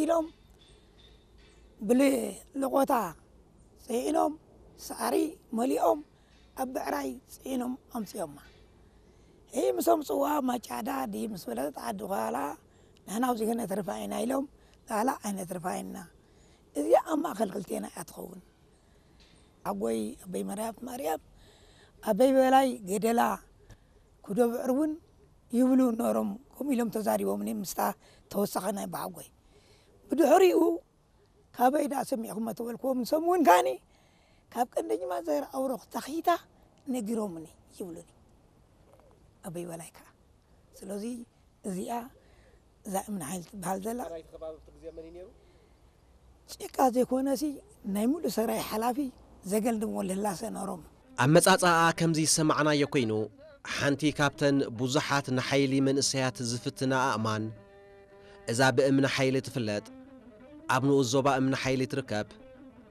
ኢሎም ብልቆታ ጽዒኖም ሳዕሪ መሊኦም ኣብ ብዕራይ ጽዒኖም ኣምጺኦማ። ይህ ምስ ኣምጽዋ ማጫዳ ድይ ምስ በለጸት ዓዲ ኳላ ንሕና ኣብዚ ከነትርፋ ኢና ኢሎም ላላ ኣይነትርፋ ኢና። እዚኣ ኣብ ማእከል ክልቴና እያ ትኸውን። ሓጎይ ኣበይ መርያት ማርያም ኣበይ በላይ ገደላ ኩዶ ብዕር እውን ይብሉ ነሮም ከምኡ ኢሎም ተዛሪቦምኒ ምስታ ተወሳኺ ናይ በሓጎይ ብድሕሪኡ ካበይ ደኣ ሰሚዕኹሞ ተበልክዎም ንሶም እውን ከዓኒ ካብ ቀንደጅማ ዘር ኣውሮኽ ተኺታ ነጊሮምኒ ይብሉኒ ኣበይ በላይ ከዓ ስለዚ እዚኣ እዛ እምኒ ሓይል ትበሃል ዘላ ናይቲ ከባቢ ኣብቲ ግዜ መን እዩ ነይሩ? ጭቃ ዘይኮነሲ ናይ ሙሉእ ሰራይ ሓላፊ ዘገልድሞ ልህላሰ ነሮም ኣመጻጽኣ ከምዚ ዝሰማዕናዮ ኮይኑ ሓንቲ ካብተን ብዙሓት ንሓይሊ መንእሰያት ዝፍትና ኣእማን እዛ ብእምኒ ሓይሊ ትፍለጥ ኣብ ንኡስ ዞባ እምኒ ሓይሊ ትርከብ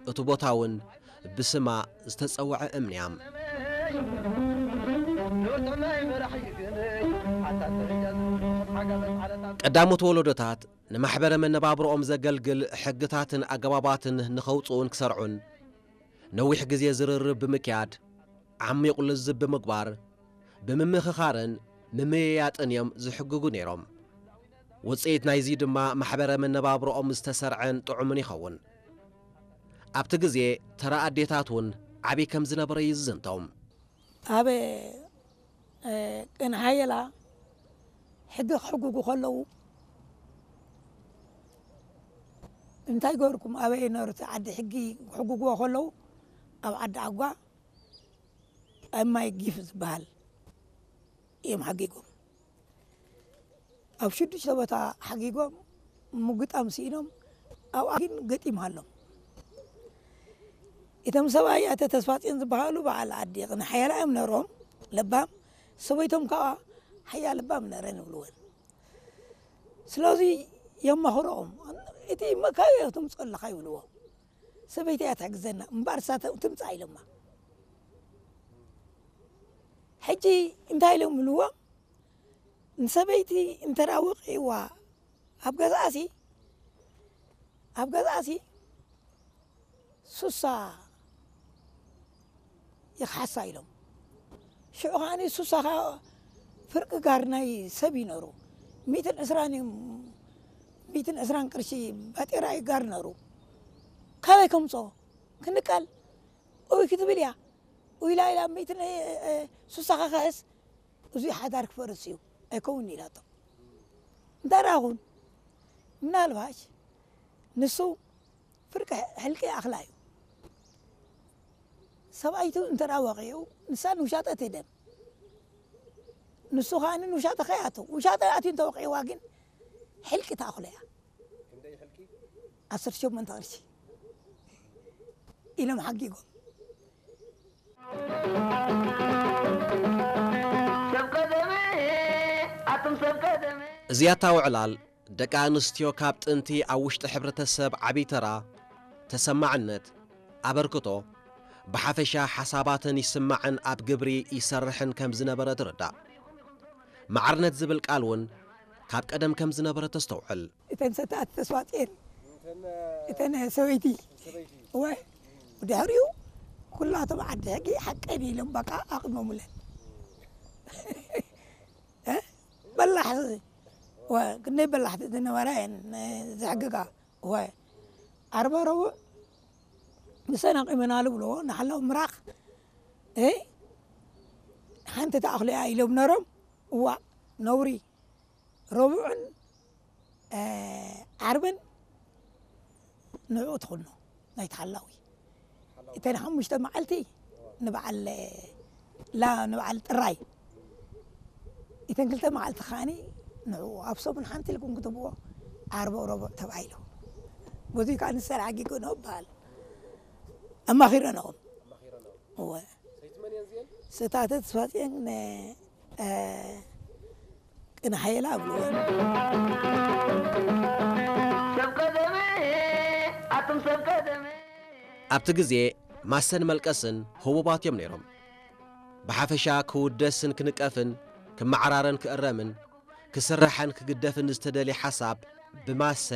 እቲ ቦታ እውን ብስማ ዝተጸውዐ እምንያም ቀዳሞት ወለዶታት ንማሕበረ መነባብሮኦም ዘገልግል ሕግታትን ኣገባባትን ንኸውፅኡን ክሰርዑን ነዊሕ ግዜ ዝርርብ ብምክያድ ዓሚቑ ልዝብ ብምግባር ብምምኽኻርን ምምይያጥን እዮም ዝሕግጉ ነይሮም። ውፅኢት ናይዚ ድማ ማሕበረ መነባብሮኦም ዝተሰርዐን ጥዑምን ይኸውን። ኣብቲ ግዜ ተራ ኣዴታት እውን ዓብዪ ከም ዝነበረ እዩ ዝዝንቶም። ኣብ ቅን ሓየላ ሕጊ ክሕግጉ ከለዉ እንታይ ገርኩም ኣበይ ነሩ እቲ ዓዲ ሕጊ ክሕግግዎ ከለዉ ኣብ ዓዲ ዓጓ ኣብ ማይ ጊፍ ዝበሃል እዮም ሓጊጎም ኣብ ሽዱሽተ ቦታ ሓጊጎም ምግጣም ስኢኖም ኣብኣ ግን ገጢምሃሎም እቶም ሰብኣይ ኣተ ተስፋፅዮን ዝበሃሉ በዓል ዓዲ ቅንሓያላ እዮም ነሮም ለባም ሰበይቶም ከዓ ሓያ ለባም ነረን ይብልወን ስለዚ የማኽሮኦም እቲ መካዮ ትምፅኦ ኣለካ ይብልዎ ሰበይቲ እያ ትሕግዘና እምበኣር እሳ ትምፃ ኢሎማ ሕጂ እንታይ ኢሎም ይብልዎ ንሰበይቲ እንተዳ ወቂዕዋ ኣብ ገዛእሲ ኣብ ገዛእሲ ሱሳ ይኽሓሳ ኢሎም ሽዑ ከዓኒ ሱሳ ኸ ፍርቂ ጋር ናይ ሰብ ይነሩ ሚትን ዕስራን ሚትን ዕስራን ቅርሺ ባጤራ እዩ ጋር ነሩ ካበይ ከምፅኦ ክንቀል ኡይ ክትብል እያ ኡይ ኢላ ኢላ ሚትን ሱሳ ኸ ክሕስ እዙይ ሓዳር ክፈርስ እዩ ኣይከውን ኢላቶ እንተራኹን ምናልባሽ ንሱ ፍርቂ ሕልቂ ኣኽላ እዩ ሰብኣይቱ እንተ ወቂዑ ንሳ ንውሻጠ ትህደም ንሱ ከዓ ንውሻጠ ከያቱ ውሻጠ ኣትዩ እንተ ወቂዕዋ ግን ሕልቂ ተኣኽሎ እያ ዓሰርተ ሸሞንተ ቅርሺ ኢሎም ሓጊጎም እዚኣታ ውዕላል ደቂ ኣንስትዮ ካብ ጥንቲ ኣብ ውሽጢ ሕብረተሰብ ዓብዪ ተራ፣ ተሰማዕነት፣ ኣበርክቶ፣ ብሓፈሻ ሓሳባተን ይስማዕን ኣብ ግብሪ ይሰርሕን ከም ዝነበረ ትርዳእ። ማዕርነት ዝብል ቃል እውን ካብ ቀደም ከም ዝነበረ ተስተውዕል። እተን ሰተኣቲ ተስፋፅኤን እተን ሰበይቲ እወ ብድሕሪኡ ኩላቶም ዓዲ ሕጊ ሓቀን ኢሎም በቃ ኣቕሞሙለን በላሕ ክንደይ በላሕቲ ዝነበራ እየን ዘሕግጋ ወ ዓርበ ረቡዕ ንሰን ኣቂመናሉ ብልዎ ንሓላው ምራኽ ሓንቲ ተኣኽሎ እያ ኢሎም ነሮም እዋ ነውሪ ረቡዕን ዓርብን ንዕኡ ትኹኖ ናይቲ ሓላዊ እተን ሓሙሽተ መዓልቲ ንበዓል ላ ንበዓል ጥራይ እተን ክልተ መዓልቲ ከዓኒ ንዕኡ ኣብ ሰሙን ሓንቲ ኢልኩም ክትብዎ ዓርበ ረቡዕ ተባሂሉ በዙይ ከዓ ንሰር ዓጊጎ ነው ይበሃል ኣማኺረንኦም እወ ሰይትመን እየን እዚአን ስታተት ስፋጽየን ቅን ሓየላ ኣብልወን ኣቱም ሰብ ቀደመ ኣብቲ ግዜ ማሰን መልቀስን ህቡባት እዮም ነይሮም። ብሓፈሻ ክውደስን ክንቀፍን ክመዓራረን ክእረምን ክስራሕን ክግደፍን ዝተደልየ ሓሳብ ብማሰ